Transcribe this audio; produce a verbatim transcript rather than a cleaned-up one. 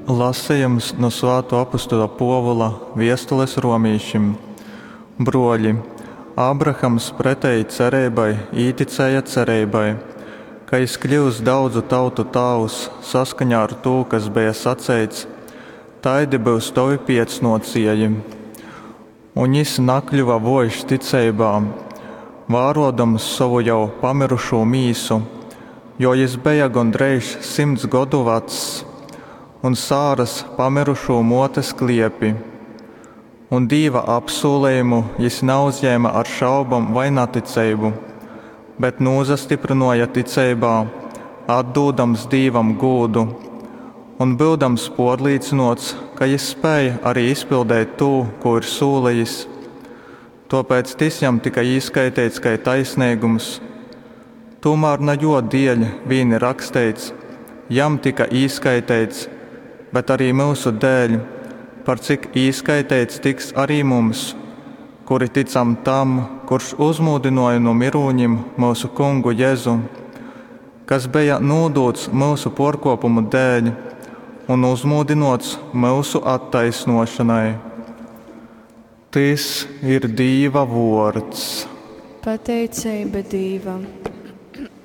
Lasejums nu Svātuo apustuļa Puovula viestules romīšim. Bruoļi, Ābrahams preteji cereibai īticēja cereibai, ka jis kļyus daudzu tautu tāvs saskaņā ar tū, kas beja saceits, Taidi byus tovi piecnuocieji. Un jis nakļuva vuojš ticeibā, vāruodams sovu jau pamyrušū mīsu, jo jis beja gondreiž symts godu vacs, un Sāras pamyrušū muotes kliepi. Un Dīva apsūlejumu jis nauzjēme ar šaubom vai naticeibu, bet nūsastyprynōja ticeibā, atdūdams Dīvam gūdu un byudams pōrlīcynōts, ka Jys spēj ari izpildeit tū, kū ir sūlejis. Tōpēc tys jam tyka īskaiteits kai taisneigums. Tūmār na jō dieļ vīn ir raksteits, Jam tyka īskaiteits, bet ari myusu dēļ, par cik īskaiteits tiks ari mums, kuri tycam Tam, kurš uzmūdynōja nu myrūnim myusu Kungu Jezu, kas beja nūdūts myusu pōrkōpumu dēļ un uzmūdynōts myusu attaisnōšonai. Tys ir Dīva vōrds. Pateiceiba Dīvam.